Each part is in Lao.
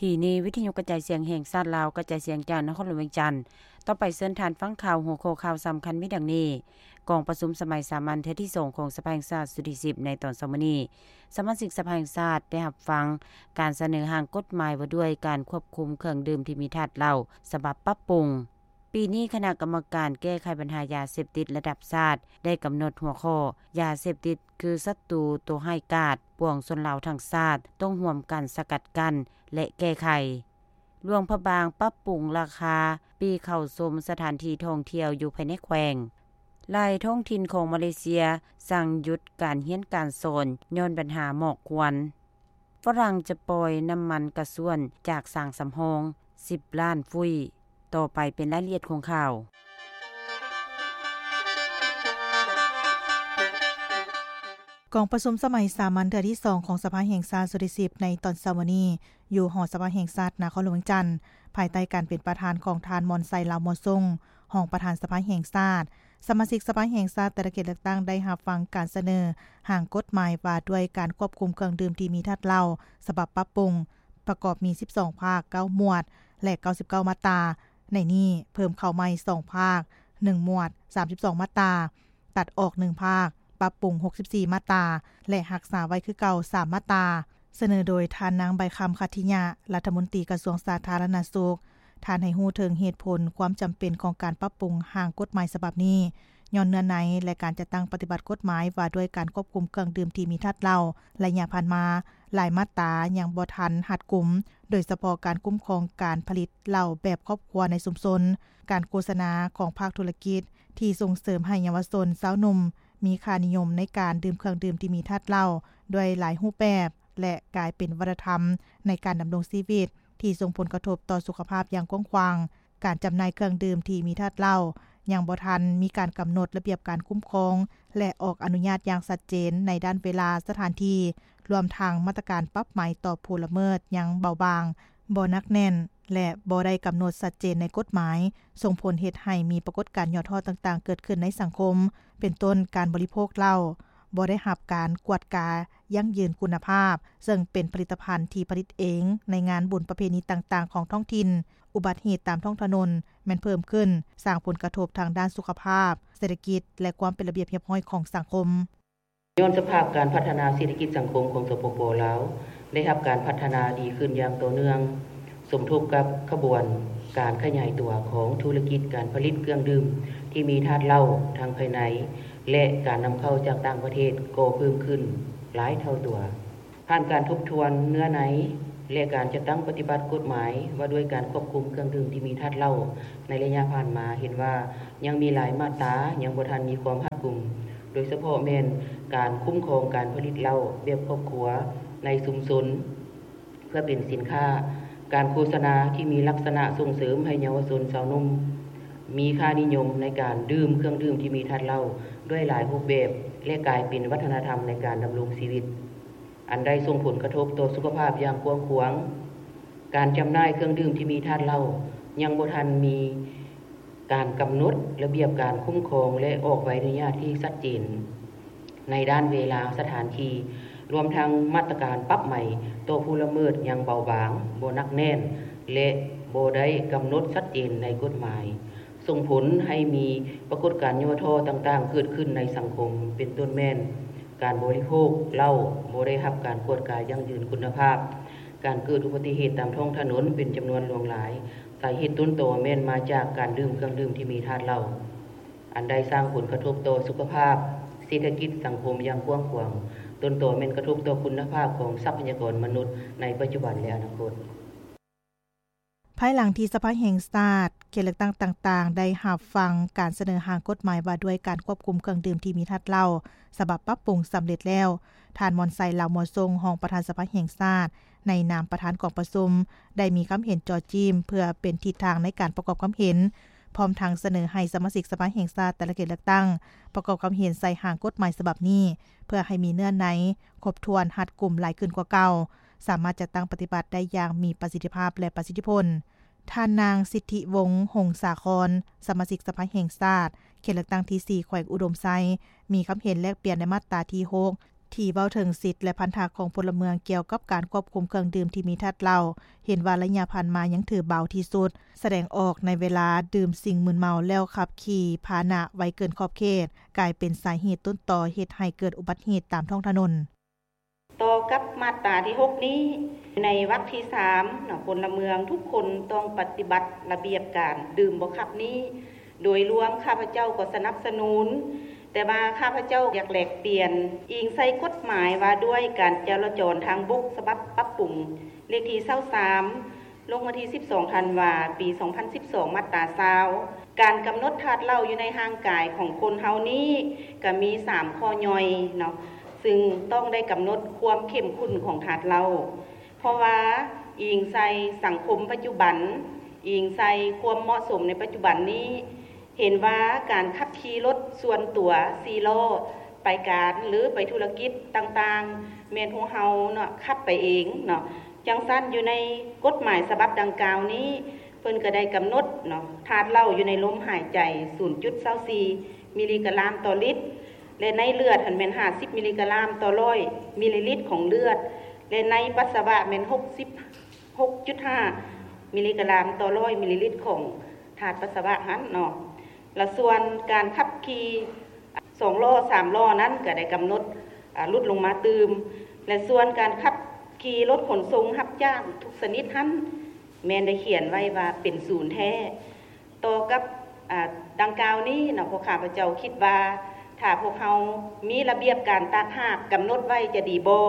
ທີ່ນີ້ ວິທະຍຸກະຈາຍສຽງແຫ່ງຊາດລາວ ກະຈາຍສຽງຈາກນະຄອນຫຼວງວຽງຈັນ. ຕໍ່ໄປເຊີນທ່ານຟັງຂ່າວ. ຫົວຂໍ້ຂ່າວສຳຄັນມີດັ່ງນີ້: ກອງປະຊຸມສະໄໝສາມັນເທື່ອທີສອງຂອງສະພາແຫ່ງຊາດຊຸດທີສິບ ໃນຕອນເຊົ້າມື້ນີ້ ສະມາຊິກສະພາແຫ່ງຊາດໄດ້ຮັບຟັງການສະເໜີຮ່າງກົດໝາຍວ່າດ້ວຍການຄວບຄຸມເຄື່ອງດື່ມທີ່ມີທາດເຫຼົ້າ ສະບັບປັບປຸງ. ປີນີ້ຄະນະກຳມະການແກ້ໄຂບັນຫາຢາເສບຕິດລະດັບຊາດ ໄດ້ກຳນົດຫົວຂໍ້ ຢາເສບຕິດຄືສັດຕູຕົວຮ້າຍກາດ, ປວງຊົນລາວທັງຊາດຕ້ອງຮ່ວມກັນສະກັດກັ້ນ ແລະ ແກ້ໄຂ. ຫຼວງພະບາງປັບປຸງລາຄາປີ້ເຂົ້າຊົມສະຖານທີ່ທ່ອງທ່ຽວຢູ່ພາຍໃນແຂວງ. ຫຼາຍທ້ອງຖິ່ນຂອງມາເລເຊຍສັ່ງຢຸດການຮຽນການສອນຍ້ອນບັນຫາໝອກຄວັນ. ຝຣັ່ງຈະປ່ອຍນ້ຳມັນກະຊວນຈາກສາງສຳຮອງສິບລ້ານຟຸ້ຍ. ຕໍ່ໄປເປັນລາຍລະອຽດຂອງຂ່າວ. ກອງປະຊຸມສະໄໝສາມັນເທື່ອທີສອງຂອງສະພາແຫ່ງຊາດຊຸດທີສິບ ໃນຕອນເຊົ້າມື້ນີ້ ຢູ່ຫໍສະພາແຫ່ງຊາດນະຄອນຫຼວງວຽງຈັນ ພາຍໃຕ້ການເປັນປະທານຂອງທ່ານ ມອນໄຊ ລາວມົວຊົງ ຮອງປະທານສະພາແຫ່ງຊາດ. ສະມາຊິກສະພາແຫ່ງຊາດແຕ່ລະເຂດເລືອກຕັ້ງໄດ້ຮັບຟັງການສະເໜີຮ່າງກົດໝາຍວ່າດ້ວຍການຄວບຄຸມເຄື່ອງດື່ມທີ່ມີທາດເຫຼົ້າ ສະບັບປັບປຸງ ປະກອບມີສິບສອງພາກ, ເກົ້າໝວດ ແລະ ເກົ້າສິບເກົ້າມາດຕາ. ໃນນີ້ເພີ່ມເຂົ້າໃໝ່ສອງພາກ, ໜຶ່ງໝວດ, ສາມສິບສອງມາດຕາ, ຕັດອອກໜຶ່ງພາກ, ປັບປຸງຫົກສິບສີ່ມາດຕາ ແລະ ຮັກສາໄວ້ຄືເກົ່າສາມມາດຕາ. ສະເໜີໂດຍທ່ານນາງ ໃບຄຳ ຂັດທິຍະ ລັດຖະມົນຕີກະຊວງສາທາລະນະສຸກ. ທ່ານໃຫ້ຮູ້ເຖິງເຫດຜົນຄວາມຈຳເປັນຂອງການປັບປຸງຮ່າງກົດໝາຍສະບັບນີ້ ຍ້ອນເນື້ອໃນ ແລະ ການຈັດຕັ້ງປະຕິບັດກົດໝາຍວ່າດ້ວຍການຄວບຄຸມເຄື່ອງດື່ມທີ່ມີທາດເຫຼົ້າ ໄລຍະຜ່ານມາ ຫຼາຍມາດຕາຍັງບໍ່ທັນຮັດກຸມ, ໂດຍສະເພາະການຄຸ້ມຄອງການຜະລິດເຫຼົ້າແບບຄອບຄົວໃນຊຸມຊົນ, ການໂຄສະນາຂອງພາກທຸລະກິດທີ່ສົ່ງເສີມໃຫ້ເຍົາວະຊົນຊາວໜຸ່ມມີຄ່ານິຍົມໃນການດື່ມເຄື່ອງດື່ມທີ່ມີທາດເຫຼົ້າດ້ວຍຫຼາຍຮູບແບບ ແລະ ກາຍເປັນວັດທະນະທຳໃນການດຳລົງຊີວິດ ທີ່ສົ່ງຜົນກະທົບຕໍ່ສຸຂະພາບຢ່າງກວ້າງຂວາງ. ການຈຳໜ່າຍເຄື່ອງດື່ມທີ່ມີທາດເຫຼົ້າຍັງບໍ່ທັນມີການກຳນົດລະບຽບການຄຸ້ມຄອງ ແລະ ອອກອະນຸຍາດຢ່າງຊັດເຈນໃນດ້ານເວລາ, ສະຖານທີ່, ລວມທັງມາດຕະການປັບໃໝຕໍ່ຜູ້ລະເມີດຍັງເບົາບາງ, ບໍ່ໜັກແໜ້ນ ແລະ ບໍ່ໄດ້ກຳນົດຊັດເຈນໃນກົດໝາຍ, ສົ່ງຜົນເຮັດໃຫ້ມີປາກົດການຫຍໍ້ທໍ້ຕ່າງໆເກີດຂຶ້ນໃນສັງຄົມ, ເປັນຕົ້ນການບໍລິໂພກເຫຼົ້າ, ບໍ່ໄດ້ຮັບການກວດກາຢັ້ງຢືນຄຸນນະພາບ, ເຊິ່ງເປັນຜະລິດຕະພັນທີ່ຜະລິດເອງໃນງານບຸນປະເພນີຕ່າງໆຂອງທ້ອງຖິ່ນ, ອຸບັດເຫດຕາມທ້ອງຖະໜົນແມ່ນເພີ່ມຂຶ້ນ, ສ້າງຜົນກະທົບທາງດ້ານສຸຂະພາບ, ເສດຖະກິດ ແລະ ຄວາມເປັນລະບຽບຮຽບຮ້ອຍຂອງສັງຄົມ. ຍ້ອນສະພາບການພັດທະນາເສດຖະກິດສັງຄົມຂອງ ສປປ ລາວ ໄດ້ຮັບການພັດທະນາດີຂຶ້ນຢ່າງຕໍ່ເນື່ອງ, ສົມທົບກັບຂະບວນການຂະຫຍາຍຕົວຂອງທຸລະກິດການຜະລິດເຄື່ອງດື່ມທີ່ມີທາດເຫຼົ້າທັງພາຍໃນ ແລະ ການນຳເຂົ້າຈາກຕ່າງປະເທດກໍເພີ່ມຂຶ້ນຫຼາຍເທົ່າຕົວ. ຜ່ານການທົບທວນເນື້ອໃນ ແລະ ການຈັດຕັ້ງປະຕິບັດກົດໝາຍວ່າດ້ວຍການຄວບຄຸມເຄື່ອງດື່ມທີ່ມີທາດເຫຼົ້າໃນໄລຍະຜ່ານມາ ເຫັນວ່າຍັງມີຫຼາຍມາດຕາຍັງບໍ່ທັນມີຄວາມຮັດກຸມ, ໂດຍສະເພາະແມ່ນການຄຸ້ມຄອງການຜະລິດເຫຼົ້າແບບຄອບຄົວໃນຊຸມຊົນເພື່ອເປັນສິນຄ້າ, ການໂຄສະນາທີ່ມີລັກສະນະສົ່ງເສີມໃຫ້ເຍົາວະຊົນຊາວໜຸ່ມມີຄ່ານິຍົມໃນການດື່ມເຄື່ອງດື່ມທີ່ມີທາດເຫຼົ້າດ້ວຍຫຼາຍຮູບແບບ ແລະ ກາຍເປັນວັດທະນະທຳໃນການດຳລົງຊີວິດ. ອັນໄດ້ສົ່ງຜົນກະທົບຕໍ່ສຸຂະພາບຢ່າງກວ້າງຂວາງ. ການຈຳໜ່າຍເຄື່ອງດື່ມທີ່ມີທາດເຫຼົ້າຍັງບໍ່ທັນມີການກຳນົດລະບຽບການຄຸ້ມຄອງ ແລະ ອອກໃບອະນຸຍາດທີ່ຊັດເຈນໃນດ້ານເວລາ, ສະຖານທີ່, ລວມທັງມາດຕະການປັບໃໝຕໍ່ຜູ້ລະເມີດຍັງເບົາບາງ, ບໍ່ໜັກແໜ້ນ ແລະ ບໍ່ໄດ້ກຳນົດຊັດເຈນໃນກົດໝາຍ. ສົ່ງຜົນໃຫ້ມີປາກົດການຫຍໍ້ທໍ້ຕ່າງໆເກີດຂຶ້ນໃນສັງຄົມ, ເປັນຕົ້ນແມ່ນການບໍລິໂພກເຫຼົ້າບໍ່ໄດ້ຮັບການກວດກາຢັ້ງຢືນຄຸນນະພາບ, ການເກີດອຸບັດຕິເຫດຕາມທ້ອງຖະໜົນເປັນຈຳນວນຫຼວງຫຼາຍ. ສາເຫດຕົ້ນຕໍແມ່ນມາຈາກການດື່ມເຄື່ອງດື່ມທີ່ມີທາດເຫຼົ້າ, ອັນໄດ້ສ້າງຜົນກະທົບຕໍ່ສຸຂະພາບ, ເສດຖະກິດ, ສັງຄົມຢ່າງກວ້າງຂວາງ. ຕົ້ນຕໍແມ່ນກະທົບຕໍ່ຄຸນນະພາບຂອງຊັບພະຍາກອນມະນຸດໃນປັດຈຸບັນ ແລະ ອະນາຄົດ. ພາຍຫຼັງທີ່ສະພາແຫ່ງຊາດ ເຂດເລືອກຕັ້ງຕ່າງໆ ໄດ້ຮັບຟັງການສະເໜີຮ່າງກົດໝາຍວ່າດ້ວຍການຄວບຄຸມເຄື່ອງດື່ມທີ່ມີທາດເຫຼົ້າ ສະບັບປັບປຸງສຳເລັດແລ້ວ, ທ່ານ ມອນໄຊ ລາວມົວຊົງ ຮອງປະທານສະພາແຫ່ງຊາດ ໃນນາມປະທານກອງປະຊຸມ ໄດ້ມີຄຳເຫັນຈໍ້ຈິ້ມເພື່ອເປັນທິດທາງໃນການປະກອບຄຳເຫັນ, ພ້ອມທັງສະເໜີໃຫ້ສະມາຊິກສະພາແຫ່ງຊາດແຕ່ລະເຂດເລືອກຕັ້ງ ປະກອບຄຳເຫັນໃສ່ຮ່າງກົດໝາຍສະບັບນີ້ ເພື່ອໃຫ້ມີເນື້ອໃນຄົບຖ້ວນ, ຮັດກຸມຫຼາຍຂຶ້ນກວ່າເກົ່າ, ສາມາດຈັດຕັ້ງປະຕິບັດໄດ້ຢ່າງມີປະສິດທິພາບ ແລະ ປະສິດທິຜົນ. ທ່ານນາງ ສິດທິວົງ ຫົງສາຄອນ ສະມາຊິກສະພາແຫ່ງຊາດ ເຂດເລືອກຕັ້ງທີສີ່ ແຂວງອຸດົມໄຊ ມີຄຳເຫັນແລກປ່ຽນໃນມາດຕາທີຫົກ ທີ່ເວົ້າເຖິງສິດ ແລະ ພັນທະຂອງພົນລະເມືອງກ່ຽວກັບການຄວບຄຸມເຄື່ອງດື່ມທີ່ມີທາດເຫຼົ້າ ເຫັນວ່າໄລຍະຜ່ານມາຍັງຖືເບົາທີ່ສຸດ, ສະແດງອອກໃນເວລາດື່ມສິ່ງມຶນເມົາແລ້ວຂັບຂີ່ພາຫະນະໄວເກີນຂອບເຂດ ກາຍເປັນສາເຫດຕົ້ນຕໍເຮັດໃຫ້ເກີດອຸບັດເຫດຕາມທ້ອງຖະໜົນ. ຕໍ່ກັບມາດຕາທີຫົກນີ້ ໃນວັກທີສາມເນາະ ພົນລະເມືອງທຸກຄົນຕ້ອງປະຕິບັດລະບຽບການດື່ມບໍ່ຂັບນີ້ ໂດຍລວມຂ້າພະເຈົ້າກໍສະໜັບສະໜູນ, ແຕ່ວ່າຂ້າພະເຈົ້າຢາກແລກປ່ຽນ ອີງໃສ່ກົດໝາຍວ່າດ້ວຍການຈະລາຈອນທາງບົກ ສະບັບປັບປຸງ ເລກທີຊາວສາມ ລົງວັນທີສິບສອງ ທັນວາ ປີສອງພັນສິບສອງ ມາດຕາຊາວ ການກຳນົດທາດເຫຼົ້າຢູ່ໃນຮ່າງກາຍຂອງຄົນເຮົານີ້ ກະມີສາມຂໍ້ຍ່ອຍເນາະ ຊຶ່ງຕ້ອງໄດ້ກຳນົດຄວາມເຂັ້ມຂຸ້ນຂອງທາດເຫຼົ້າ ເພາະວ່າອີງໃສ່ສັງຄົມປັດຈຸບັນ, ອີງໃສ່ຄວາມເໝາະສົມໃນປັດຈຸບັນນີ້ ເຫັນວ່າການຂັບຂີ່ລົດສ່ວນຕົວສີ່ລໍ້ໄປການ ຫຼື ໄປທຸລະກິດຕ່າງໆ ແມ່ນພວກເຮົາເນາະ ຂັບໄປເອງເນາະ. ຈັ່ງຊັ້ນ ຢູ່ໃນກົດໝາຍສະບັບດັ່ງກ່າວນີ້ ເພິ່ນກໍໄດ້ກຳນົດເນາະ ທາດເຫຼົ້າຢູ່ໃນລົມຫາຍໃຈ ສູນຈຸດຊາວສີ່ ມິລລີກຣາມຕໍ່ລິດ ແລະ ໃນເລືອດຫັ້ນແມ່ນຫ້າສິບມິລລີກຣາມຕໍ່ຮ້ອຍມິລລີລິດຂອງເລືອດ ແລະ ໃນປັດສະວະແມ່ນຫົກສິບຫົກຈຸດຫ້າມິລລີກຣາມຕໍ່ຮ້ອຍມິລລີລິດຂອງທາດປັດສະວະຫັ້ນເນາະ. ລະສ່ວນການຂັບຂີ່ສອງລໍ້ສາມລໍ້ນັ້ນກໍໄດ້ກຳນົດ ອາ ຫຼຸດລົງມາຕື່ມ ແລະ ສ່ວນການຂັບຂີ່ລົດຂົນສົ່ງຮັບຈ້າງທຸກຊະນິດຫັ້ນ ແມ່ນໄດ້ຂຽນໄວ້ວ່າເປັນສູນແທ້. ຕໍ່ກັບ ອາ ດັ່ງກ່າວນີ້ເນາະ ພວກຂ້າພະເຈົ້າຄິດວ່າ ຖ້າພວກເຮົາມີລະບຽບການຕ່າງຫາກກຳນົດໄວ້ຈະດີບໍ່?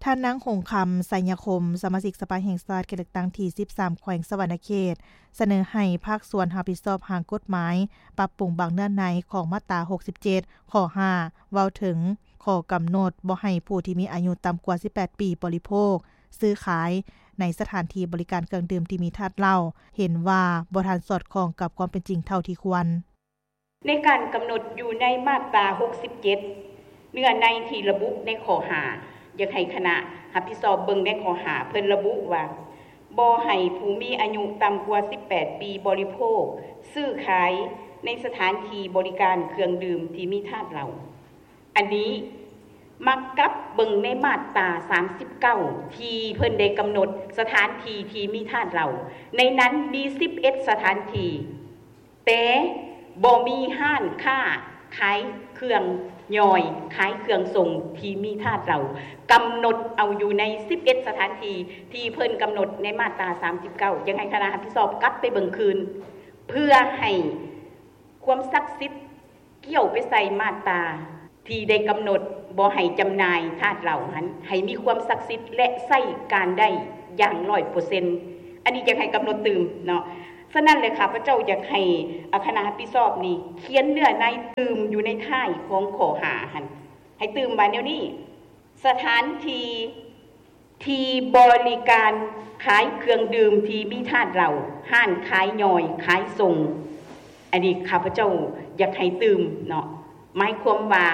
ທ່ານນາງ ຫົງຄຳ ໄຊຍະຄົມ ສະມາຊິກສະພາແຫ່ງຊາດເຂດເລືອກຕັ້ງທີສິບສາມ ແຂວງສະຫວັນນະເຂດ ສະເໜີໃຫ້ພາກສ່ວນຮັບຜິດຊອບຮ່າງກົດໝາຍ ປັບປຸງບາງເນື້ອໃນຂອງມາດຕາຫົກສິບເຈັດ ຂໍ້ຫ້າ ເວົ້າເຖິງຂໍ້ກຳນົດບໍ່ໃຫ້ຜູ້ທີ່ມີອາຍຸຕ່ຳກວ່າສິບແປດປີບໍລິໂພກ, ຊື້ຂາຍ ໃນສະຖານທີ່ບໍລິການເຄື່ອງດື່ມທີ່ມີທາດເຫຼົ້າ ເຫັນວ່າບໍ່ທັນສອດຄ່ອງກັບຄວາມເປັນຈິງເທົ່າທີ່ຄວນ. ໃນການກຳນົດຢູ່ໃນມາດຕາຫົກສິບເຈັດ ເນື້ອໃນທີ່ລະບຸໃນຂໍ້ຫ້າ ຢາກໃຫ້ຄະນະຮັບຜິດຊອບເບິ່ງໃນຂໍ້ຫ້າ ເພິ່ນລະບຸວ່າ ບໍ່ໃຫ້ຜູ້ມີອາຍຸຕ່ຳກວ່າສິບແປດປີບໍລິໂພກ, ຊື້ຂາຍ ໃນສະຖານທີ່ບໍລິການເຄື່ອງດື່ມທີ່ມີທາດເຫຼົ້າ. ອັນນີ້ມາກັບເບິ່ງໃນມາດຕາສາມສິບເກົ້າ ທີ່ເພິ່ນໄດ້ກຳນົດສະຖານທີ່ທີ່ມີທາດເຫຼົ້າ, ໃນນັ້ນມີສິບເອັດສະຖານທີ່ ແຕ່ບໍ່ມີຮ້ານຄ້າຂາຍເຄື່ອງຍ່ອຍ, ຂາຍເຄື່ອງສົ່ງທີ່ມີທາດເຫຼົ້າ, ກຳນົດເອົາຢູ່ໃນສິບເອັດສະຖານທີ່ ທີ່ເພິ່ນກຳນົດໃນມາດຕາສາມສິບເກົ້າ. ຢາກໃຫ້ຄະນະຮັບຜິດຊອບກັບໄປເບິ່ງຄືນ ເພື່ອໃຫ້ຄວາມສັກສິດ ກ່ຽວໄປໃສ່ມາດຕາທີ່ໄດ້ກຳນົດບໍ່ໃຫ້ຈຳໜ່າຍທາດເຫຼົ້າຫັ້ນ ໃຫ້ມີຄວາມສັກສິດ ແລະ ໃຊ້ການໄດ້ຢ່າງຮ້ອຍເປີເຊັນ. ອັນນີ້ຢາກໃຫ້ກຳນົດຕື່ມເນາະ. ສະນັ້ນແຫຼະ ຂ້າພະເຈົ້າຢາກໃຫ້ ອາ ຄະນະຮັບຜິດຊອບນີ້ ຂຽນເນື້ອໃນຕື່ມຢູ່ໃນທ້າຍຂອງຂໍ້ຫ້າຫັ້ນ ໃຫ້ຕື່ມວ່າແນວນີ້ ສະຖານທີ່ ທີ່ບໍລິການຂາຍເຄື່ອງດື່ມທີ່ມີທາດເຫຼົ້າ, ຮ້ານຂາຍຍ່ອຍ, ຂາຍສົ່ງ. ອັນນີ້ຂ້າພະເຈົ້າຢາກໃຫ້ຕື່ມເນາະ. ໝາຍຄວາມວ່າ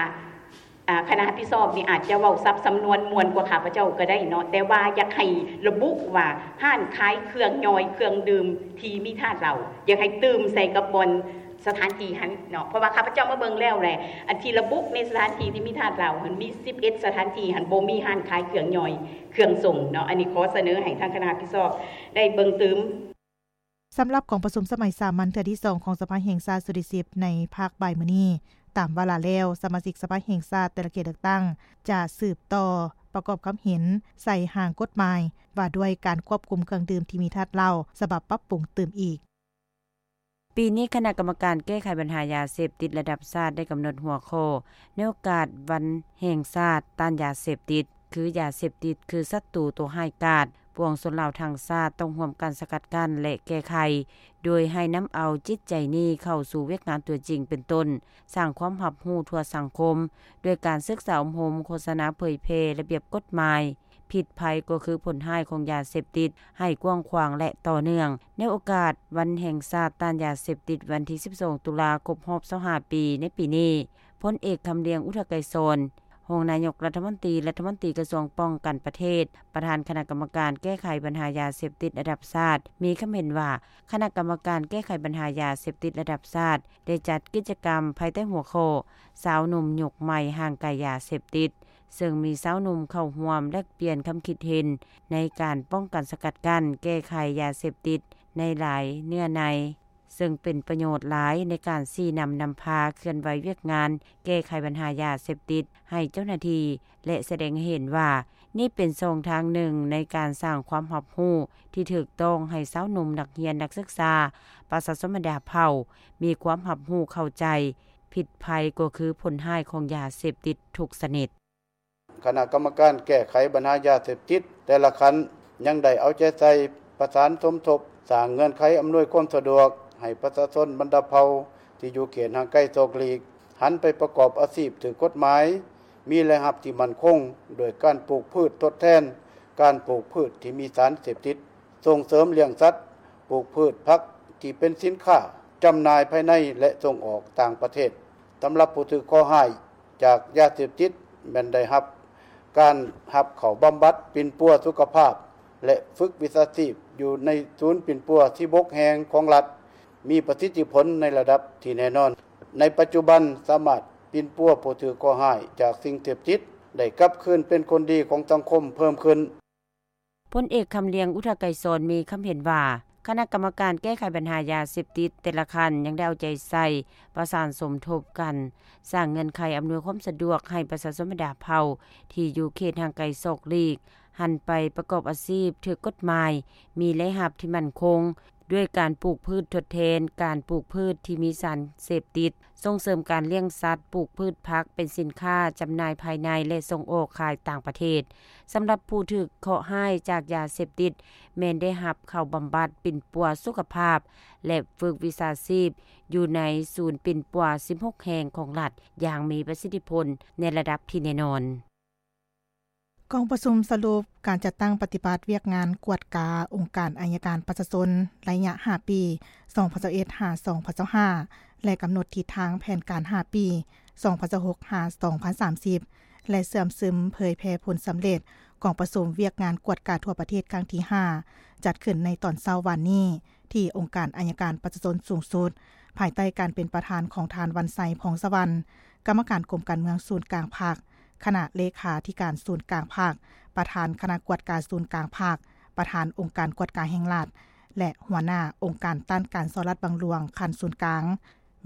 ອາ ຄະນະຮັບຜິດຊອບນີ້ອາດຈະເວົ້າສັບສຳນວນມ່ວນກວ່າຂ້າພະເຈົ້າກໍໄດ້ເນາະ, ແຕ່ວ່າຢາກໃຫ້ລະບຸວ່າ ຮ້ານຂາຍເຄື່ອງຍ່ອຍ, ເຄື່ອງດື່ມທີ່ມີທາດເຫຼົ້າ. ຢາກໃຫ້ຕື່ມໃສ່ກັບບ່ອນ ສະຖານທີ່ຫັ້ນເນາະ, ເພາະວ່າຂ້າພະເຈົ້າມາເບິ່ງແລ້ວແຫຼະ ອັນທີ່ລະບຸໃນສະຖານທີ່ທີ່ມີທາດເຫຼົ້າຫັ້ນ ມີສິບເອັດສະຖານທີ່ຫັ້ນ ບໍ່ມີຮ້ານຂາຍເຄື່ອງຍ່ອຍເຄື່ອງສົ່ງເນາະ. ອັນນີ້ຂໍສະເໜີໃຫ້ທາງຄະນະຮັບຜິດຊອບໄດ້ເບິ່ງຕື່ມ. ສຳລັບກອງປະຊຸມສະໄໝສາມັນເທື່ອທີສອງຂອງສະພາແຫ່ງຊາດຊຸດທີສິບ ໃນພາກບ່າຍມື້ນີ້, ຕາມວາລະແລ້ວ ສະມາຊິກສະພາແຫ່ງຊາດແຕ່ລະເຂດເລືອກຕັ້ງ ຈະສືບຕໍ່ປະກອບຄຳເຫັນໃສ່ຮ່າງກົດໝາຍວ່າດ້ວຍການຄວບຄຸມເຄື່ອງດື່ມທີ່ມີທາດເຫຼົ້າ ສະບັບປັບປຸງຕື່ມອີກ. ປີນີ້ຄະນະກຳມະການແກ້ໄຂບັນຫາຢາເສບຕິດລະດັບຊາດໄດ້ກຳນົດຫົວຂໍ້ໃນໂອກາດວັນແຫ່ງຊາດຕ້ານຢາເສບຕິດ ຄື ຢາເສບຕິດຄືສັດຕູຕົວຮ້າຍກາດ, ປວງຊົນລາວທັງຊາດຕ້ອງຮ່ວມກັນສະກັດກັ້ນ ແລະ ແກ້ໄຂ ໂດຍໃຫ້ນຳເອົາຈິດໃຈນີ້ເຂົ້າສູ່ວຽກງານຕົວຈິງ ເປັນຕົ້ນ ສ້າງຄວາມຮັບຮູ້ທົ່ວສັງຄົມ ດ້ວຍການສຶກສາອົບຮົມ, ໂຄສະນາເຜີຍແຜ່ລະບຽບກົດໝາຍ, ພິດໄພກໍຄືຜົນຮ້າຍຂອງຢາເສບຕິດ ໃຫ້ກວ້າງຂວາງ ແລະ ຕໍ່ເນື່ອງ. ໃນໂອກາດວັນແຫ່ງຊາດຕ້ານຢາເສບຕິດ ວັນທີສິບສອງ ຕຸລາ ຄົບຮອບຊາວຫ້າປີໃນປີນີ້, ພົນເອກ ຄຳລຽງ ອຸທະໄກສອນ, ຮອງນາຍົກລັດຖະມົນຕີ, ລັດຖະມົນຕີກະຊວງປ້ອງກັນປະເທດ, ປະທານຄະນະກຳມະການແກ້ໄຂບັນຫາຢາເສບຕິດລະດັບຊາດ ມີຄຳເຫັນວ່າ ຄະນະກຳມະການແກ້ໄຂບັນຫາຢາເສບຕິດລະດັບຊາດ ໄດ້ຈັດກິດຈະກຳພາຍໃຕ້ຫົວຂໍ້ ຊາວໜຸ່ມຍຸກໃໝ່ຫ່າງໄກຢາເສບຕິດ, ເຊິ່ງມີຊາວໜຸ່ມເຂົ້າຮ່ວມແລກປ່ຽນຄຳຄິດເຫັນໃນການປ້ອງກັນສະກັດກັ້ນແກ້ໄຂຢາເສບຕິດໃນຫຼາຍເນື້ອໃນ, ເຊິ່ງເປັນປະໂຫຍດຫຼາຍໃນການຊີ້ນຳນຳພາເຄື່ອນໄຫວວຽກງານແກ້ໄຂບັນຫາຢາເສບຕິດໃຫ້ເຈົ້າໜ້າທີ່ ແລະ ສະແດງໃຫ້ເຫັນວ່າ ນີ້ເປັນຊ່ອງທາງໜຶ່ງໃນການສ້າງຄວາມຮັບຮູ້ທີ່ຖືກຕ້ອງໃຫ້ຊາວໜຸ່ມນັກຮຽນນັກສຶກສາ, ປະຊາຊົນບັນດາເຜົ່າ ມີຄວາມຮັບຮູ້ເຂົ້າໃຈ, ພິດໄພກໍຄືຜົນຮ້າຍຂອງຢາເສບຕິດທຸກຊະນິດ. ຄະນະກຳມະການແກ້ໄຂບັນຫາຢາເສບຕິດແຕ່ລະຂັ້ນ ຍັງໄດ້ເອົາໃຈໃສ່ປະສານສົມທົບ, ສ້າງເງື່ອນໄຂອຳນວຍຄວາມສະດວກໃຫ້ປະຊາຊົນບັນດາເຜົ່າທີ່ຢູ່ເຂດຫ່າງໄກສອກຫຼີກ ຫັນໄປປະກອບອາຊີບຖືກກົດໝາຍ, ມີລາຍຮັບທີ່ໝັ້ນຄົງ ດ້ວຍການປູກພືດທົດແທນການປູກພືດທີ່ມີສານເສບຕິດ, ສົ່ງເສີມລ້ຽງສັດ, ປູກພືດຜັກທີ່ເປັນສິນຄ້າຈຳໜ່າຍພາຍໃນ ແລະ ສົ່ງອອກຕ່າງປະເທດ. ສຳລັບຜູ້ຖືກເຄາະຮ້າຍຈາກຢາເສບຕິດ ແມ່ນໄດ້ຮັບການຮັບເຂົ້າບຳບັດປິ່ນປົວສຸຂະພາບ ແລະ ຝຶກວິຊາຊີບຢູ່ໃນສູນປິ່ນປົວສິບຫົກແຫ່ງຂອງລັດ, ມີປະສິດທິຜົນໃນລະດັບທີ່ແນ່ນອນ. ໃນປັດຈຸບັນສາມາດປິ່ນປົວຜູ້ຖືກເຄາະຮ້າຍຈາກສິ່ງເສບຕິດ ໄດ້ກັບຄືນເປັນຄົນດີຂອງສັງຄົມເພີ່ມຂຶ້ນ. ພົນເອກ ຄຳລຽງ ອຸທະໄກສອນ ມີຄຳເຫັນວ່າ ຄະນະກຳມະການແກ້ໄຂບັນຫາຢາເສບຕິດແຕ່ລະຂັ້ນຍັງໄດ້ເອົາໃຈໃສ່ປະສານສົມທົບກັນ, ສ້າງເງື່ອນໄຂອຳນວຍຄວາມສະດວກໃຫ້ປະຊາຊົນບັນດາເຜົ່າທີ່ຢູ່ເຂດຫ່າງໄກສອກຫຼີກ ຫັນໄປປະກອບອາຊີບຖືກກົດໝາຍ, ມີລາຍຮັບທີ່ໝັ້ນຄົງ ດ້ວຍການປູກພືດທົດແທນການປູກພືດທີ່ມີສານເສບຕິດ, ສົ່ງເສີມການລ້ຽງສັດ, ປູກພືດຜັກເປັນສິນຄ້າຈຳໜ່າຍພາຍໃນ ແລະ ສົ່ງອອກຂາຍຕ່າງປະເທດ. ສຳລັບຜູ້ຖືກເຄາະຮ້າຍຈາກຢາເສບຕິດ ແມ່ນໄດ້ຮັບເຂົ້າບຳບັດປິ່ນປົວສຸຂະພາບ ແລະ ຝຶກວິຊາຊີບຢູ່ໃນສູນປິ່ນປົວສິບຫົກແຫ່ງຂອງລັດ ຢ່າງມີປະສິດທິຜົນໃນລະດັບທີ່ແນ່ນອນ. ກອງປະຊຸມສະຫຼຸບການຈັດຕັ້ງປະຕິບັດວຽກງານກວດກາອົງການໄອຍະການປະຊາຊົນໄລຍະຫ້າປີ ສອງພັນຊາວເອັດ ຫາ ສອງພັນຊາວຫ້າ ແລະ ກຳນົດທິດທາງແຜນການຫ້າປີ ສອງພັນຊາວຫົກ ຫາ ສອງພັນສາມສິບ ແລະ ເຊື່ອມຊຶມເຜີຍແຜ່ຜົນສຳເລັດກອງປະຊຸມວຽກງານກວດກາທົ່ວປະເທດຄັ້ງທີຫ້າ ຈັດຂຶ້ນໃນຕອນເຊົ້າວານນີ້ ທີ່ອົງການໄອຍະການປະຊາຊົນສູງສຸດ ພາຍໃຕ້ການເປັນປະທານຂອງທ່ານ ວັນໄຊ ພອງສະຫວັນ ກຳມະການກົມການເມືອງສູນກາງພັກ, ຄະນະເລຂາທິການສູນກາງພັກ, ປະທານຄະນະກວດກາສູນກາງພັກ, ປະທານອົງການກວດກາແຫ່ງລັດ ແລະ ຫົວໜ້າອົງການຕ້ານການສໍ້ລາດບັງຫຼວງຂັ້ນສູນກາງ,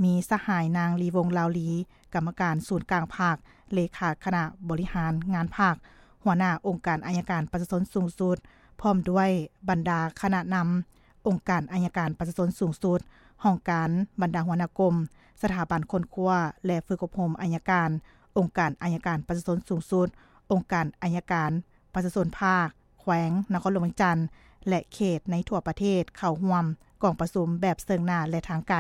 ມີສະຫາຍນາງ ລີວົງ ລາວລີ ກຳມະການສູນກາງພັກ, ເລຂາຄະນະບໍລິຫານງານພັກ, ຫົວໜ້າອົງການໄອຍະການປະຊາຊົນສູງສຸດ, ພ້ອມດ້ວຍບັນດາຄະນະນຳ ອົງການໄອຍະການປະຊາຊົນສູງສຸດ, ຫ້ອງການ, ບັນດາຫົວໜ້າກົມ, ສະຖາບັນຄົ້ນຄວ້າ ແລະ ຝຶກອົບຮົມໄອຍະການ, ອົງການໄອຍະການປະຊາຊົນສູງສຸດ, ອົງການໄອຍະການປະຊາຊົນພາກ, ແຂວງ, ນະຄອນຫຼວງວຽງຈັນ ແລະ ເຂດໃນທົ່ວປະເທດເຂົ້າຮ່ວມກອງປະຊຸມແບບເຊິ່ງໜ້າ ແລະ ທາງໄກ.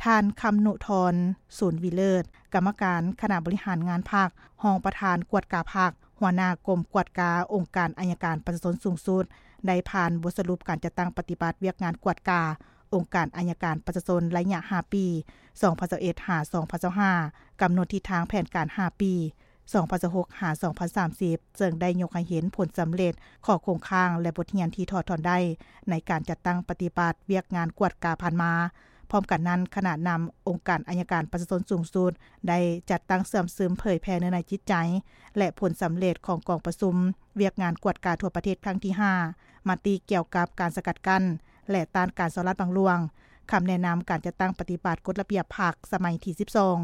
ທ່ານ ຄຳນຸທອນ ສູນວິເລີດ ກຳມະການຄະນະບໍລິຫານງານພັກ, ຮອງປະທານກວດກາພັກ, ຫົວໜ້າກົມກວດກາອົງການໄອຍະການປະຊາຊົນສູງສຸດ ໄດ້ຜ່ານບົດສະຫຼຸບການຈັດຕັ້ງປະຕິບັດວຽກງານກວດກາອົງການໄອຍະການປະຊາຊົນໄລຍະຫ້າປີ ສອງພັນຊາວເອັດ ຫາ ສອງພັນຊາວຫ້າ ກຳນົດທິດທາງແຜນການຫ້າປີ ສອງພັນຊາວຫົກ ຫາ ສອງພັນສາມສິບ ເຊິ່ງໄດ້ຍົກໃຫ້ເຫັນຜົນສຳເລັດ, ຂໍ້ຄົງຄ້າງ ແລະ ບົດຮຽນທີ່ຖອດຖອນໄດ້ໃນການຈັດຕັ້ງປະຕິບັດວຽກງານກວດກາຜ່ານມາ. ພ້ອມກັນນັ້ນ, ຄະນະນຳອົງການໄອຍະການປະຊາຊົນສູງສຸດ ໄດ້ຈັດຕັ້ງເຊື່ອມຊຶມເຜີຍແຜ່ເນື້ອໃນຈິດໃຈ ແລະ ຜົນສຳເລັດຂອງກອງປະຊຸມວຽກງານກວດກາທົ່ວປະເທດຄັ້ງທີຫ້າ, ມະຕິກ່ຽວກັບການສະກັດກັ້ນ ແລະ ຕ້ານການສໍ້ລາດບັງຫຼວງ, ຄຳແນະນຳການຈັດຕັ້ງປະຕິບັດກົດລະບຽບພັກສະໄໝທີສິບສອງ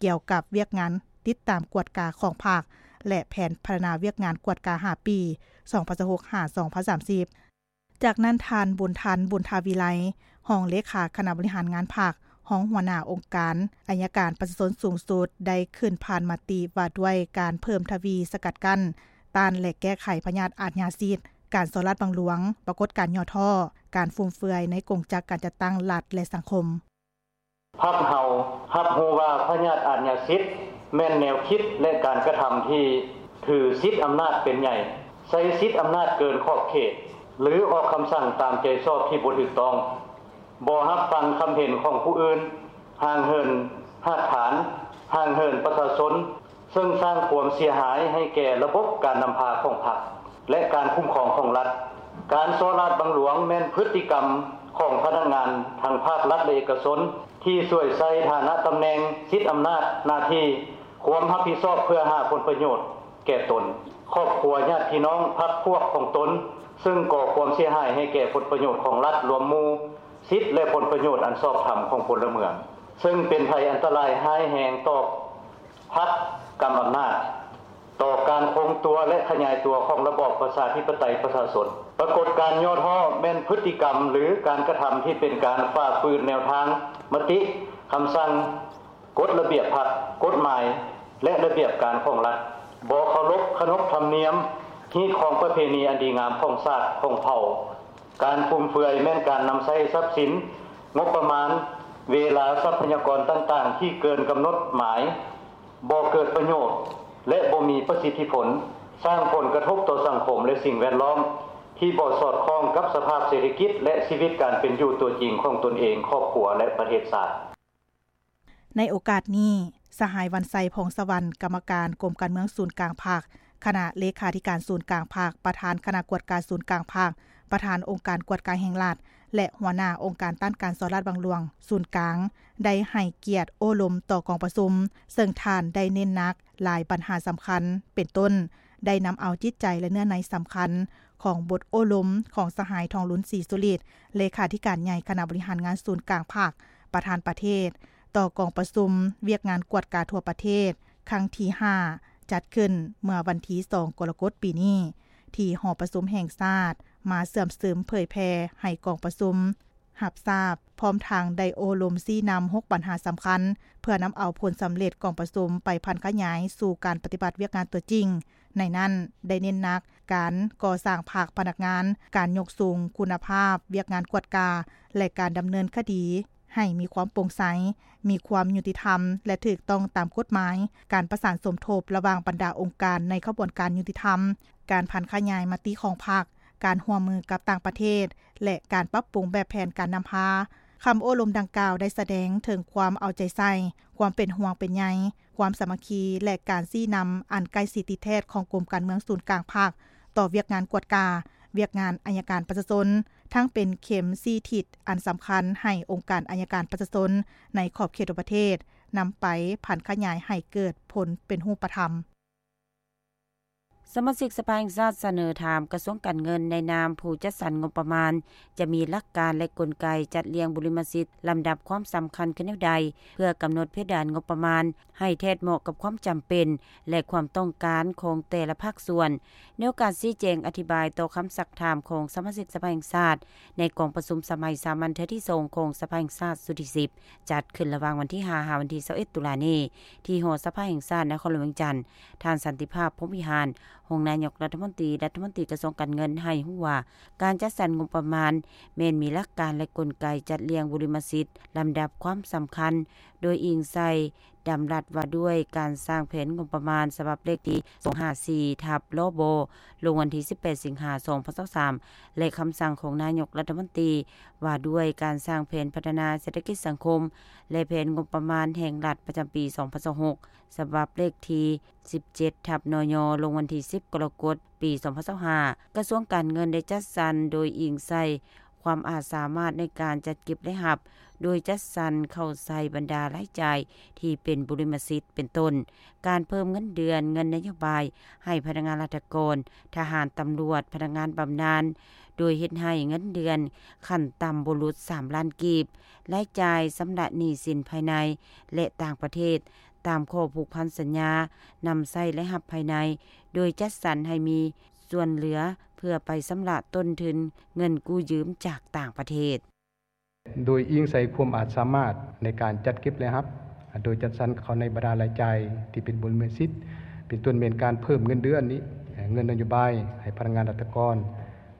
ກ່ຽວກັບວຽກງານຕິດຕາມກວດກາຂອງພັກ ແລະ ແຜນພັດທະນາວຽກງານກວດກາຫ້າປີ ສອງພັນຊາວຫົກ ຫາ ສອງພັນສາມສິບ. ຈາກນັ້ນ, ທ່ານ ບຸນທັນ ບຸນທາວິໄລ ຮອງເລຂາຄະນະບໍລິຫານງານພັກ, ຮອງຫົວໜ້າອົງການໄອຍະການປະຊາຊົນສູງສຸດ ໄດ້ຂຶ້ນຜ່ານມະຕິວ່າດ້ວຍການເພີ່ມທະວີສະກັດກັ້ນ, ຕ້ານ ແລະ ແກ້ໄຂພະຍາດອາດຍາສິດ, ການສໍ້ລາດບັງຫຼວງ, ປາກົດການຫຍໍ້ທໍ້, ການຟຸມເຟືອຍໃນກົງຈັກການຈັດຕັ້ງລັດ ແລະ ສັງຄົມ. ພັກເຮົາຮັບຮູ້ວ່າພະຍາດອາດຍາສິດແມ່ນແນວຄິດ ແລະ ການກະທຳທີ່ຖືສິດອຳນາດເປັນໃຫຍ່, ໃຊ້ສິດອຳນາດເກີນຂອບເຂດ ຫຼື ອອກຄຳສັ່ງຕາມໃຈຊອບທີ່ບໍ່ຖືກຕ້ອງ, ບໍ່ຮັບຟັງຄຳເຫັນຂອງຜູ້ອື່ນ, ຫ່າງເຫີນຮາກຖານ, ຫ່າງເຫີນປະຊາຊົນ, ເຊິ່ງສ້າງຄວາມເສຍຫາຍໃຫ້ແກ່ລະບົບການນຳພາຂອງພັກ ແລະ ການຄຸ້ມຄອງຂອງລັດ. ການສໍ້ລາດບັງຫຼວງແມ່ນພຶດຕິກຳຂອງພະນັກງານທັງພາກລັດ ແລະ ເອກະຊົນ ທີ່ສວຍໃຊ້ຖານະຕຳແໜ່ງ, ສິດອຳນາດ, ໜ້າທີ່, ຄວາມຮັບຜິດຊອບເພື່ອຫາຜົນປະໂຫຍດແກ່ຕົນ, ຄອບຄົວ, ຍາດພີ່ນ້ອງ, ພັກພວກຂອງຕົນ, ເຊິ່ງກໍ່ຄວາມເສຍຫາຍໃຫ້ແກ່ຜົນປະໂຫຍດຂອງລັດລວມໝູ່, ສິດ ແລະ ຜົນປະໂຫຍດອັນຊອບທຳຂອງພົນລະເມືອງ, ເຊິ່ງເປັນໄພອັນຕະລາຍຮ້າຍແຮງຕໍ່ພັກ, ກຳອຳນາດ, ຕໍ່ການຄົງຕົວ ແລະ ຂະຫຍາຍຕົວຂອງລະບອບປະຊາທິປະໄຕປະຊາຊົນ. ປາກົດການຫຍໍ້ທໍ້ແມ່ນພຶດຕິກຳ ຫຼື ການກະທຳທີ່ເປັນການຝ່າຝືນແນວທາງ, ມະຕິ, ຄຳສັ່ງ, ກົດລະບຽບພັກ, ກົດໝາຍ ແລະ ລະບຽບການຂອງລັດ, ບໍ່ເຄົາລົບຂະໜົບທຳນຽມ, ຮີດຄອງປະເພນີອັນດີງາມຂອງຊາດ, ຂອງເຜົ່າ. ການຟຸມເຟືອຍແມ່ນການນຳໃຊ້ຊັບສິນ, ງົບປະມານ, ເວລາ, ຊັບພະຍາກອນຕ່າງໆທີ່ເກີນກຳນົດໝາຍ, ບໍ່ເກີດປະໂຫຍດ ແລະ ບໍ່ມີປະສິດທິຜົນ, ສ້າງຜົນກະທົບຕໍ່ສັງຄົມ ແລະ ສິ່ງແວດລ້ອມ ທີ່ບໍ່ສອດຄ່ອງກັບສະພາບເສດຖະກິດ ແລະ ຊີວິດການເປັນຢູ່ຕົວຈິງຂອງຕົນເອງ, ຄອບຄົວ ແລະ ປະເທດຊາດ. ໃນໂອກາດນີ້, ສະຫາຍ ວັນໄຊ ພອງສະຫວັນ ກຳມະການກົມການເມືອງສູນກາງພັກ, ຄະນະເລຂາທິການສູນກາງພັກ, ປະທານຄະນະກວດກາສູນກາງພັກ, ປະທານອົງການກວດກາແຫ່ງລັດ ແລະ ຫົວໜ້າອົງການຕ້ານການສໍ້ລາດບັງຫຼວງສູນກາງ ໄດ້ໃຫ້ກຽດໂອ້ລົມຕໍ່ກອງປະຊຸມ, ເຊິ່ງທ່ານໄດ້ເນັ້ນໜັກຫຼາຍບັນຫາສຳຄັນ ເປັນຕົ້ນ ໄດ້ນຳເອົາຈິດໃຈ ແລະ ເນື້ອໃນສຳຄັນຂອງບົດໂອ້ລົມຂອງສະຫາຍ ທອງລຸນ ສີສຸລິດ ເລຂາທິການໃຫຍ່ຄະນະບໍລິຫານງານສູນກາງພັກ, ປະທານປະເທດ ຕໍ່ກອງປະຊຸມວຽກງານກວດກາທົ່ວປະເທດ ຄັ້ງທີຫ້າ ຈັດຂຶ້ນເມື່ອວັນທີສອງ ກໍລະກົດ ປີນີ້ ທີ່ຫໍປະຊຸມແຫ່ງຊາດ ມາເຊື່ອມຊຶມເຜີຍແຜ່ໃຫ້ກອງປະຊຸມຮັບຊາບ, ພ້ອມທັງໄດ້ໂອ້ລົມຊີ້ນຳຫົກບັນຫາສຳຄັນ ເພື່ອນຳເອົາຜົນສຳເລັດກອງປະຊຸມໄປຜັນຂະຫຍາຍສູ່ການປະຕິບັດວຽກງານຕົວຈິງ. ໃນນັ້ນໄດ້ເນັ້ນໜັກການກໍ່ສ້າງພັກພະນັກງານ, ການຍົກສູງຄຸນນະພາບວຽກງານກວດກາ ແລະ ການດຳເນີນຄະດີ ໃຫ້ມີຄວາມໂປ່ງໃສ, ມີຄວາມຍຸຕິທຳ ແລະ ຖືກຕ້ອງຕາມກົດໝາຍ, ການປະສານສົມທົບລະຫວ່າງບັນດາອົງການໃນຂະບວນການຍຸຕິທຳ, ການຜັນຂະຫຍາຍມະຕິຂອງພັກ, ການຮ່ວມມືກັບຕ່າງປະເທດ ແລະ ການປັບປຸງແບບແຜນການນຳພາ. ຄຳໂອ້ລົມດັ່ງກ່າວໄດ້ສະແດງເຖິງຄວາມເອົາໃຈໃສ່, ຄວາມເປັນຫ່ວງເປັນໃຍ, ຄວາມສາມັກຄີ ແລະ ການຊີ້ນຳອັນໃກ້ຊິດຕິດແທດຂອງກົມການເມືອງສູນກາງພັກ ຕໍ່ວຽກງານກວດກາ, ວຽກງານໄອຍະການປະຊາຊົນ, ທັງເປັນເຂັມຊີ້ທິດອັນສຳຄັນໃຫ້ອົງການໄອຍະການປະຊາຊົນໃນຂອບເຂດທົ່ວປະເທດ ນຳໄປຜັນຂະຫຍາຍໃຫ້ເກີດຜົນເປັນຮູບປະທຳ. ສະມາຊິກສະພາແຫ່ງຊາດສະເໜີຖາມກະຊວງການເງິນໃນນາມຜູ້ຈັດສັນງົບປະມານ ຈະມີຫຼັກການ ແລະ ກົນໄກຈັດລຽງບຸລິມະສິດ ລຳດັບຄວາມສຳຄັນຄືແນວໃດ ເພື່ອກຳນົດເພດານງົບປະມານໃຫ້ແທດເໝາະກັບຄວາມຈຳເປັນ ແລະ ຄວາມຕ້ອງການຂອງແຕ່ລະພາກສ່ວນ. ໃນໂອກາດຊີ້ແຈງອະທິບາຍຕໍ່ຄຳຊັກຖາມຂອງສະມາຊິກສະພາແຫ່ງຊາດ ໃນກອງປະຊຸມສະໄໝສາມັນເທື່ອທີສອງຂອງສະພາແຫ່ງຊາດຊຸດທີສິບ ຈັດຂຶ້ນລະຫວ່າງວັນທີຫ້າ ຫາວັນທີຊາວເອັດ ຕຸລານີ້ ທີ່ຫໍສະພາແຫ່ງຊາດນະຄອນຫຼວງວຽງຈັນ, ທ່ານ ສັນຕິພາບ ພົມວິຫານ ຮອງນາຍົກລັດຖະມົນຕີ ລັດຖະມົນຕີກະຊວງການເງິນ ໃຫ້ຮູ້ວ່າ ການຈັດສັນງົບປະມານແມ່ນມີຫຼັກການ ແລະ ກົນໄກຈັດລຽງບຸລິມະສິດ ລຳດັບຄວາມສຳຄັນ ໂດຍອີງໃສ່ດຳລັດວ່າດ້ວຍການສ້າງແຜນງົບປະມານ ສະບັບເລກທີສອງຫ້າສີ່ ທັບ ລບ ລົງວັນທີສິບແປດ ສິງຫາ ສອງພັນຊາວສາມ ແລະ ຄຳສັ່ງຂອງນາຍົກລັດຖະມົນຕີ ວ່າດ້ວຍການສ້າງແຜນພັດທະນາເສດຖະກິດສັງຄົມ ແລະ ແຜນງົບປະມານແຫ່ງລັດປະຈຳປີສອງພັນຊາວຫົກ ສະບັບເລກທີສິບເຈັດ ທັບ ນຍ ລົງວັນທີສິບ ກໍລະກົດ ປີສອງພັນຊາວຫ້າ ກະຊວງການເງິນໄດ້ຈັດສັນໂດຍອີງໃສ່ຄວາມອາດສາມາດໃນການຈັດເກັບລາຍຮັບ, ໂດຍຈັດສັນເຂົ້າໃສ່ບັນດາລາຍຈ່າຍທີ່ເປັນບຸລິມະສິດ ເປັນຕົ້ນ ການເພີ່ມເງິນເດືອນ, ເງິນນະໂຍບາຍໃຫ້ພະນັກງານລັດຖະກອນ, ທະຫານ, ຕຳຫຼວດ, ພະນັກງານບຳນານ, ໂດຍເຮັດໃຫ້ເງິນເດືອນຂັ້ນຕ່ຳບໍ່ຫຼຸດສາມລ້ານກີບ, ລາຍຈ່າຍຊຳລະໜີ້ສິນພາຍໃນ ແລະ ຕ່າງປະເທດ ຕາມຂໍ້ຜູກພັນສັນຍານຳໃຊ້ລາຍຮັບພາຍໃນ ໂດຍຈັດສັນໃຫ້ມີສ່ວນເຫຼືອເພື່ອໄປຊຳລະຕົ້ນທຶນເງິນກູ້ຢືມຈາກຕ່າງປະເທດ. ໂດຍອີງໃສ່ຄວາມອາດສາມາດໃນການຈັດເກັບລາຍຮັບ, ໂດຍຈັດສັນເຂົ້າໃນບັນດາລາຍຈ່າຍທີ່ເປັນບຸລິມະສິດ, ເປັນຕົ້ນແມ່ນການເພີ່ມເງິນເດືອນນີ້, ເງິນນະໂຍບາຍໃຫ້ພະນັກງານລັດຖະກອນ,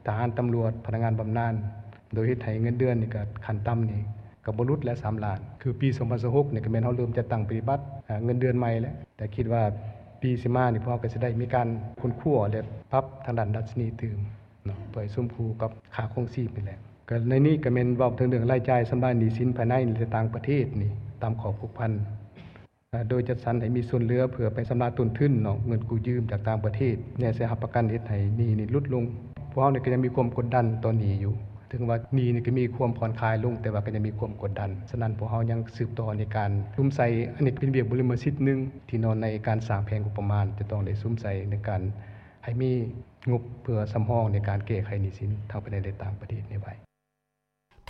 ທະຫານ, ຕຳຫຼວດ, ພະນັກງານບຳນານ, ໂດຍເຮັດໃຫ້ເງິນເດືອນນີ້ກໍຂັ້ນຕ່ຳນີ້ ກໍບໍ່ຫຼຸດແລະສາມລ້ານ. ຄືປີສອງພັນຊາວຫົກນີ້ກໍແມ່ນເຮົາເລີ່ມຈັດຕັ້ງປະຕິບັດ ເງິນເດືອນໃໝ່ແລ້ວ, ແຕ່ຄິດວ່າປີຊິມານີ້ ພວກເຮົາກໍຊິໄດ້ມີການຄົ້ນຄວ້າ ແລະ ປັບທາງດ້ານດັດຊະນີຕື່ມເນາະ ເພື່ອໃຫ້ສົມຄູ່ກັບຄ່າຄອງຊີບນີ້ແຫຼະ. ກໍໃນນີ້ກໍແມ່ນເວົ້າເຖິງເລື່ອງລາຍຈ່າຍຊຳລະໜີ້ສິນພາຍໃນ ແລະ ຕ່າງປະເທດນີ້ ຕາມຂໍ້ຜູກພັນ ໂດຍຈັດສັນໃຫ້ມີສ່ວນເຫຼືອເພື່ອໄປຊຳລະຕົ້ນທຶນເນາະ ເງິນກູ້ຢືມຈາກຕ່າງປະເທດ ແນໃສ່ຮັບປະກັນເຮັດໃຫ້ໜີ້ນີ້ຫຼຸດລົງ. ພວກເຮົານີ້ກໍຍັງມີຄວາມກົດດັນຕໍ່ໜີ້ຢູ່ ເຖິງວ່າໜີ້ນີ້ກໍມີຄວາມຜ່ອນຄາຍລົງ ແຕ່ວ່າກໍຍັງມີຄວາມກົດດັນ. ສະນັ້ນພວກເຮົາຍັງສືບຕໍ່ໃນການສຸມໃສ່ ອັນນີ້ເປັນວຽກບຸລິມະສິດໜຶ່ງ ທີ່ເນາະ ໃນການສ້າງແຜນງົບປະມານ ຈະຕ້ອງໄດ້ສຸມໃສ່ໃນການໃຫ້ມີງົບເພື່ອສຳຮອງໃນການແກ້ໄຂໜີ້ສິນ ທັງພາຍໃນ ແລະ ຕ່າງປະເທດນີ້ໄວ້.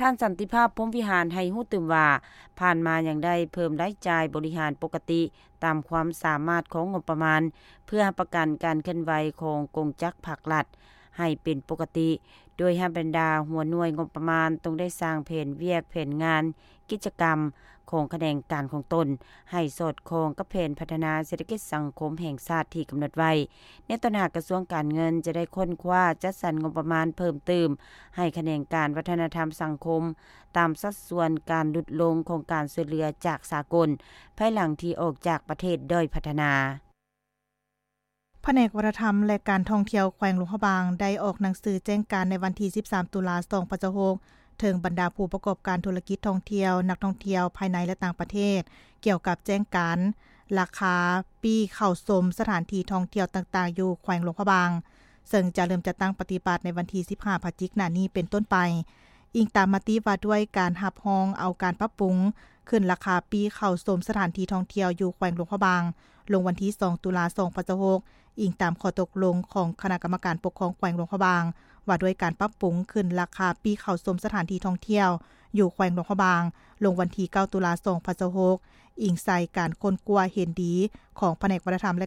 ທ່ານ ສັນຕິພາບ ພົມວິຫານ ໃຫ້ຮູ້ຕື່ມວ່າ ຜ່ານມາຍັງໄດ້ເພີ່ມລາຍຈ່າຍບໍລິຫານປົກກະຕິ ຕາມຄວາມສາມາດຂອງງົບປະມານ ເພື່ອຮັບປະກັນການເຄື່ອນໄຫວຂອງກົງຈັກພັກລັດໃຫ້ເປັນປົກກະຕິ ໂດຍໃຫ້ບັນດາຫົວໜ່ວຍງົບປະມານຕ້ອງໄດ້ສ້າງແຜນວຽກແຜນງານ ກິດຈະກຳຂອງຂະແໜງການຂອງຕົນ ໃຫ້ສອດຄ່ອງກັບແຜນພັດທະນາເສດຖະກິດສັງຄົມແຫ່ງຊາດທີ່ກຳນົດໄວ້. ໃນຕອນໜ້າ ກະຊວງການເງິນຈະໄດ້ຄົ້ນຄວ້າຈັດສັນງົບປະມານເພີ່ມຕື່ມໃຫ້ຂະແໜງການວັດທະນະທຳສັງຄົມ ຕາມສັດສ່ວນການຫຼຸດລົງຂອງການຊ່ວຍເຫຼືອຈາກສາກົນ ພາຍຫຼັງທີ່ອອກຈາກປະເທດດ້ອຍພັດທະນາ. ພະແນກວັດທະນະທຳ ແລະ ການທ່ອງທ່ຽວແຂວງຫຼວງພະບາງ ໄດ້ອອກໜັງສືແຈ້ງການໃນວັນທີສິບສາມ ຕຸລາ ສອງພັນຊາວຫົກ ເຖິງບັນດາຜູ້ປະກອບການທຸລະກິດທ່ອງທ່ຽວ, ນັກທ່ອງທ່ຽວພາຍໃນ ແລະ ຕ່າງປະເທດ ກ່ຽວກັບແຈ້ງການລາຄາປີ້ເຂົ້າຊົມສະຖານທີ່ທ່ອງທ່ຽວຕ່າງໆ ຢູ່ແຂວງຫຼວງພະບາງ ເຊິ່ງຈະເລີ່ມຈັດຕັ້ງປະຕິບັດໃນວັນທີສິບຫ້າ ພະຈິກໜ້ານີ້ເປັນຕົ້ນໄປ. ອີງຕາມມະຕິວ່າດ້ວຍການຮັບຮອງເອົາການປັບປຸງຂຶ້ນລາຄາປີ້ເຂົ້າຊົມສະຖານທີ່ທ່ອງທ່ຽວຢູ່ແຂວງຫຼວງພະບາງ ລົງວັນທີສອງ ຕຸລາ ສອງພັນຊາວຫົກ ອີງຕາມຂໍ້ຕົກລົງຂອງຄະນະກຳມະການປົກຄອງແຂວງຫຼວງພະບາງ ວ່າດ້ວຍການປັບປຸງຂຶ້ນລາຄາປີ້ເຂົ້າຊົມສະຖານທີ່ທ່ອງທ່ຽວຢູ່ແຂວງຫຼວງພະບາງ ລົງວັນທີເກົ້າ ຕຸລາ ສອງພັນຊາວຫົກ ອີງໃສ່ການຄົ້ນຄວ້າເຫັນດີຂອງພະແນກວັດທະນະທຳ ແລະ